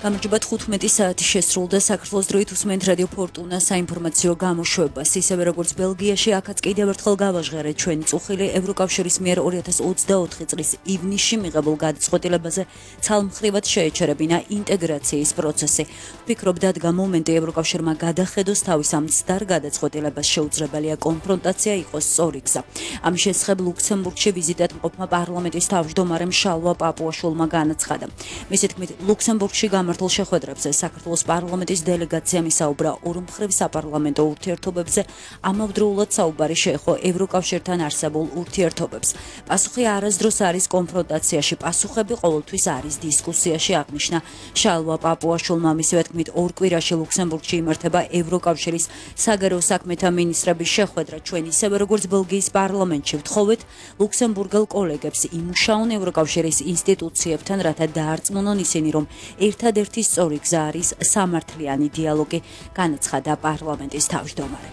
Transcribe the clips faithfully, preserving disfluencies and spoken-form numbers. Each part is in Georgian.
გამარჯობა თხუთმეტი საათი შესრულდა საქართველოს დროით უსმენთ რადიო ფორტუნა საინფორმაციო გამოშვებას. ისევე როგორც ბელგიაში, აქაც კიდევ ერთხელ გავაჟღერეთ ჩვენი წუხილი ევროკავშირის მიერ ორი ათას ოცდაოთხი წლის ივნისში მიღებულ გადაწყვეტილებაზე ცალმხრივად შეეჩერებინა ინტეგრაციის პროცესი. ვფიქრობ, დადგა მომენტი ევროკავშირმა გადახედოს თავის ამ მცდარ გადაწყვეტილებას, შეუძლებელია კონფრონტაცია იყოს სწორი გზა. ამის შესახებ ლუქსემბურგში ვიზიტად მყოფმა პარლამენტის თავმჯდომარემ შალვა პაპუაშვილმა განაცხადა. მისი თქმით, ლუქსემბურგში გამართულ შეხვედრებზე საქართველოს პარლამენტის დელეგაციამ ისაუბრა ორმხრივ საპარლამენტო ურთიერთობებზე, ამავდროულად საუბარი შეეხო ევროკავშირთან არსებულ ურთიერთობებს. პასუხი არასდროს არის კონფრონტაციაში, პასუხები ყოველთვის არის დისკუსიაში, აღნიშნა შალვა პაპუაშვილმა. მისივე თქმით, ორ კვირაში ლუქსემბურგში იმართება ევროკავშირის საგარეო საქმეთა მინისტრების შეხვედრა. ჩვენ ისევე როგორც ბელგიის პარლამენტში ვთხოვეთ ლუქსემბურგელ კოლეგებს იმუშაონ ევროკავშირის ინსტიტუციებთან, რათა დაარწმუნონ ისინი, რომ ერთადერთი სწორი გზა არის სამართლიანი დიალოგი, განაცხადა პარლამენტის თავმჯდომარე.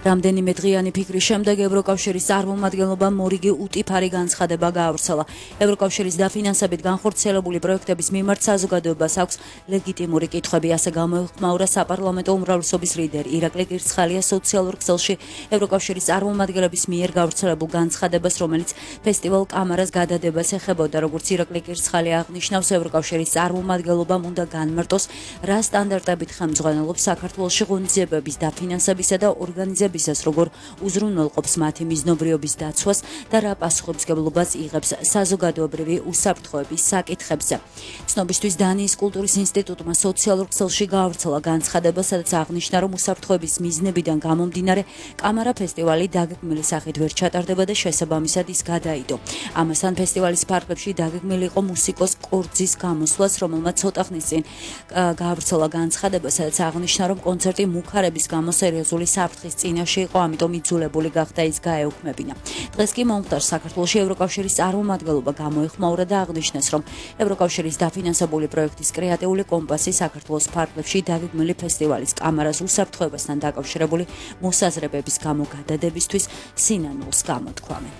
რამდენიმე დღიანი ფიქრის შემდეგ ევროკავშირის წარმომადგენლობამ მორიგი უტიფარი განცხადება გაავრცელა. ევროკავშირის დაფინანსებით განხორციელებული პროექტების მიმართ საზოგადოებას აქვს ლეგიტიმური კითხვები, ასე გამოეხმაურა საპარლამენტო უმრავლესობის ლიდერი ირაკლი კირცხალია სოციალურ ქსელში ევროკავშირის წარმომადგენლების მიერ გავრცელებულ განცხადებას, რომელიც ფესტივალ კამარას გადადებას ეხებოდა. როგორც ირაკლი კირცხალი აღნიშნავს, ევროკავშირის წარმომადგენლობამ უნდა განმარტოს, რა სტანდარტებით ხელმძღვანელობს საქართველოში ღონისძიებების დაფინანსებისა და ორგანიზებისა როგორ უზრუნველყოფს მათი მიზნობრიობის დაცვას და რა პასუხისმგებლობას იღებს საზოგადოებრივი უსაფრთხოების საკითხებზე. ცნობისთვის დანიის კულტურის ინსტიტუტმა სოციალურ ქსელში გაავრცელა განცხადება, სადაც აღნიშნა, რომ უსაფრთხოების მიზნებიდან გამომდინარე კამარა ფესტივალი დაგეგმილი სახით ვერ ჩატარდება და შესაბამისად ის გადაიდო. ამასთან ფესტივალის ფარგლებში დაგეგმილი იყო მუსიკოს კორძის გამოსვლას, რომელმაც ცოტა ხნის წინ გაავრცელა განცხადება, სადაც აღნიშნა, რომ კონცერტი მუქარების გამო სერიოზული საფრთხის წინაშე იყო, ამიტომ იძულებული გახდა ის გაეუქმებინა. დღეს კი მომხდარს საქართველოში ევროკავშირის წარმომადგენლობა გამოეხმაურა და აღნიშნეს, რომ ევროკავშირის დაფინანსებული პროექტის კრეატიული კომპასი საქართველოს ფარგლებში დაგეგმილი ფესტივალის კამარას უსაფრთხოებასთან დაკავშირებული მოსაზრებების გამო გადადებისთვის სინანულს გამოთქვამენ.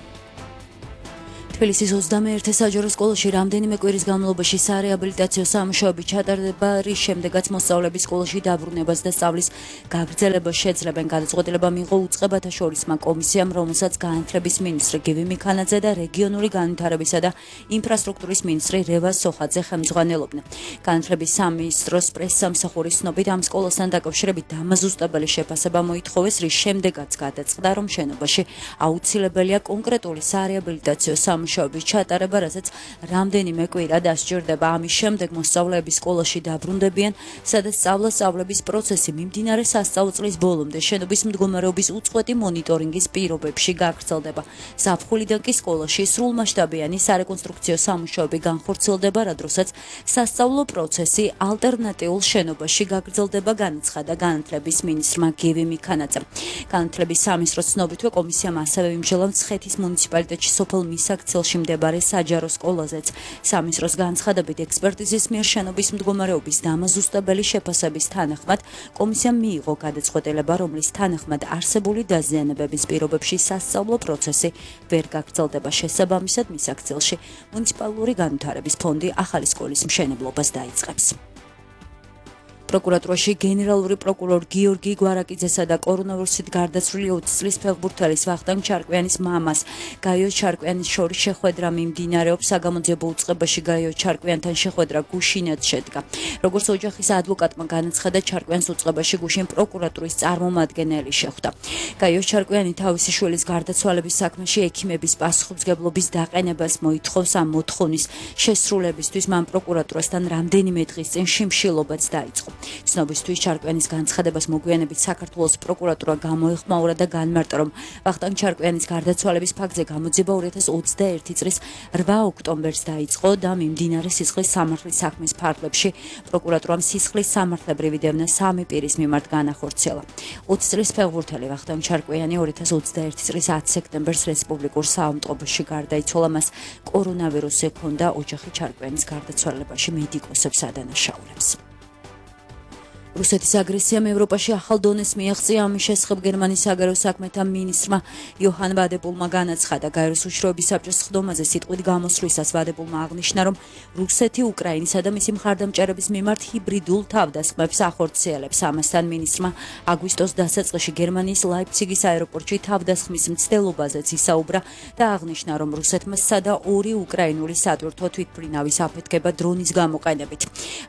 თბილისის ოცდამეერთე საჯარო სკოლაში რამდენიმე კვირის განმავლობაში სარეაბილიტაციო სამუშაოები ჩატარდება, რის შემდეგაც მოსწავლეების სკოლაში დაბრუნებას და სწავლის გაგრძელებას შეძლებენ. გადაწყვეტილება მიიღო უწყებათა შორისმა კომისიამ, რომელსაც განათლების მინისტრი გივი მიქანაძე და რეგიონული განვითარებისა და ინფრასტრუქტურის მინისტრი რევაზ სოხაძე ხელმძღვანელობდნენ. განათლების სამინისტროს პრესსამსახურის ცნობით, ამ სკოლასთან დაკავშირებით დამაზუსტებელი შეფასება მოითხოვეს, რის შემდეგაც გადაწყდა, რომ შენობაში აუცილებელია კონკრეტული სარეაბილიტაციო სამუშაოების ჩატარება, რასაც რამდენიმე კვირა დასჭირდება. ამის შემდეგ მოსწავლეები სკოლაში დაბრუნდებიან, სადაც სწავლა-სწავლების პროცესი მიმდინარე სასწავლო წლის ბოლომდე შენობის მდგომარეობის უწყვეტი მონიტორინგის პირობებში გაგრძელდება. ზაფხულიდან კი სკოლაში სრულმასშტაბიანი სარეკონსტრუქციო სამუშაოები განხორციელდება, რა დროსაც სასწავლო პროცესი ალტერნატიულ შენობაში გაგრძელდება, განაცხადა განათლების მინისტრმა გივი მიქანაძემ. განათლების სამინისტროს ცნობითვე კომისიამ ასევე იმჟელა მცხეთის მუნიციპალიტეტში სოფელ მისაქცევში მიმდებარე საჯარო სკოლაზეც. სამინისტროს განცხადებით, ექსპერტიზის მიერ შენობის მდგომარეობის დამაზუსტებელი შეფასების თანახმად კომისიამ მიიღო გადაწყვეტილება, რომლის თანახმად არსებული დაზიანებების პირობებში სასწავლო პროცესი ვერ გაგრძელდება. შესაბამისად, მისაქცევში მუნიციპალური განვითარების ფონდი ახალი სკოლის მშენებლობას დაიწყებს. პროკურატურაში გენერალური პროკურორ გიორგი გვარაკიძესა და კორონავირუსით გარდაცვლილი ოცი წლის ფეხბურთელის ვახტანგ ჩარკვიანის მამას გაიო ჩარკვიანის შორის შეხვედრა მიმდინარეობს. საგამოძიებო უწყებაში გაიო ჩარკვიანთან შეხვედრა გუშინად შედგა. როგორც ოჯახის ადვოკატმა განაცხადა, ჩარკვიანს უწყებაში გუშინ პროკურატურის წარმომადგენელი შეხვდა. გაიო ჩარკვიანი თავისი შვილის გარდაცვალების საქმეში ექიმების პასუხისმგებლობის დაყენებას მოითხოვს. ამ მოთხოვნის შესრულებისთვის მან პროკურატურასთან რამდენიმე დღის წინ შიმშილობაც დაიწყო. ცნობისთვის, ჩარკვიანის განცხადებას მოგვიანებით საქართველოს პროკურატურა გამოეხმაურა და განმარტა, რომ ვახტანგ ჩარკვიანის გარდაცვალების ფაქტზე გამოძიება ორი ათას ოცდაერთი წლის რვა ოქტომბერს დაიწყო და მიმდინარე სისხლის სამართლის საქმის ფარგლებში პროკურატურამ სისხლის სამართლებრივი დევნა სამი პირის მიმართ განახორციელა. ოცი წლის ფეხბურთელი ვახტანგ ჩარკვიანი ორი ათას ოცდაერთი წლის ათი სექტემბერს რესპუბლიკურ საავადმყოფოში გარდაიცვალა. მას კორონავირუსი ჰქონდა. ოჯახი ჩარკვიანის გარდაცვალებაში მედიკოსებს ადანაშაულებს. რუსეთის აგრესიამ ევროპაში ახალ დონეს მიაღწია. ამის შესახებ გერმანიის საგარეო საქმეთა მინისტრმა იოჰან ვადეპულმა განაცხადა. გაეროს უშიშროების საბჭოს სხდომაზე სიტყვით გამოსვლისას ვადეპულმა აღნიშნა, რომ რუსეთი უკრაინისა და მისი მხარდამჭერების მიმართ ჰიბრიდულ თავდასხმებს ახორციელებს. ამასთან მინისტრმა აგვისტოს დასაწყისში გერმანიის ლაიფციგის აეროპორტში თავდასხმის მცდელობაზეც ისაუბრა და აღნიშნა, რომ რუსეთმა სცადა ორი უკრაინული სატვირთო თვითმფრინავის აფეთქება დრონის გამოყენებით.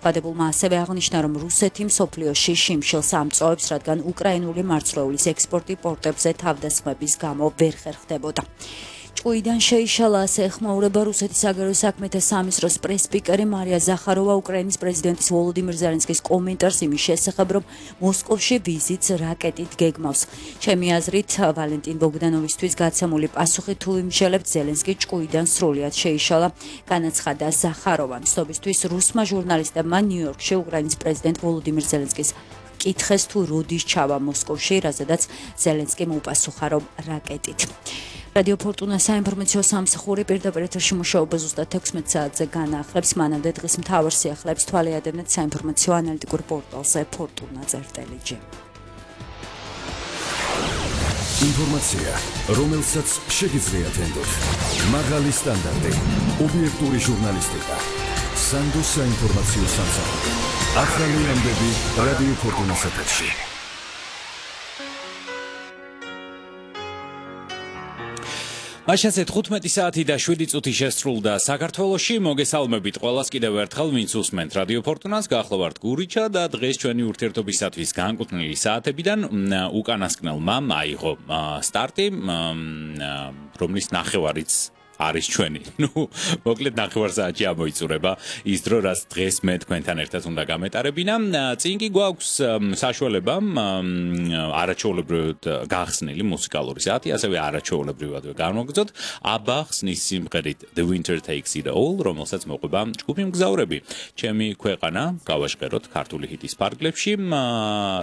ვადეპულმა ასევე აღნიშნა, რომ რუსეთი მსოფლიოში შიმშილს ამწოვებს, რადგან უკრაინული მარცვლეულის ექსპორტი პორტებზე თავდასხმების გამო ვერ ხერხდებოდა. ჭკუიდან შეიშალა, ასე ეხმაურება რუსეთის საგარეო საქმეთა სამინისტროს პრეს-სპიკერი მარია ზახაროვა უკრაინის პრეზიდენტის ვოლოდიმირ ზელენსკის კომენტარს იმის შესახებ, რომ მოსკოვში ვიზიტს რაკეტით გეგმავს. ჩემი აზრით, ვალენტინ ბოგდანოვისთვის გაცემული პასუხი თუ იმშელებთ, ზელენსკი ჭკუიდან სრულად შეიშალა, განაცხადა ზახაროვამ. ცნობისთვის რუსმა ჟურნალისტებმა ნიუ-იორკში უკრაინის პრეზიდენტ ვოლოდიმირ ზელენსკის კითხეს თუ როდის ჩავა მოსკოვში, რაზედაც ზელენსკიმ უპასუხა, რომ რაკეტით. რადიო ფორტუნა საინფორმაციო სამსახური პირდაპირ ეთერში მუშაობა ზუსტად თექვსმეტ საათზე განახლებს. მანამდე დღის მთავარ სიახლეებს თვალე ადევნეთ საინფორმაციო ანალიტიკურ პორტალზე fortuna.gr. ინფორმაცია, რომელსაც შეგიძლიათ ენდოთ. მაღალი სტანდარტი, ობიექტური ჟურნალისტიკა. სანდოს საინფორმაციო სამსახური. ახალი ამბები რადიო ფორტუნას ეთერში. მაშასე თხუთმეტი საათი და შვიდი წუთი შესრულდა საქართველოში. მოგესალმებით ყველას კიდევ ერთხელ, ვინც უსმენთ რადიო ფორტუნას. გახლავართ გურიჩა და დღეს ჩვენი ურთიერთობისათვის განკუთვნილი საათებიდან უკანასკნელმა აიღო სტარტი, რომლის ნახევარიც არის ჩვენი. ნუ მოკლედ ნახევარ საათში ამოიწურება ის დრო, რაც დღეს მე თქვენთან ერთად უნდა გამეტარებინა. წინ კი გვაქვს საშუალება არაჩვეულებრივად გახსნილი მუსიკალური საათი, ასევე არაჩვეულებრივად განვაგრძოთ აბა ხსნის სიმღერით The Winter Takes It All, რომელსაც მოყვება ჯგუფი მგზავრები. ჩემი ქვეყანა გავაშკეროთ ქართული ჰიტის ფარგლებში.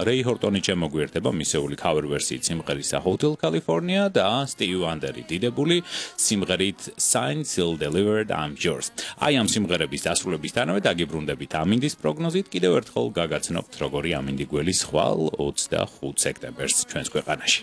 რეი ჰორტონი შემოგვიერთება მისეული cover ვერსიით სიმღერისა Hotel California და Stevie Wonder-ი დიდებული სიმღერით Signed, Sealed, Delivered, I'm Yours. აი ამ სიმღერების დასრულებისთანავე დაგიბრუნდებით ამინდის პროგნოზით. კიდევ ერთხელ გაგაცნობთ, როგორი ამინდი გველის ხვალ ოცდახუთ სექტემბერს ჩვენს ქვეყანაში.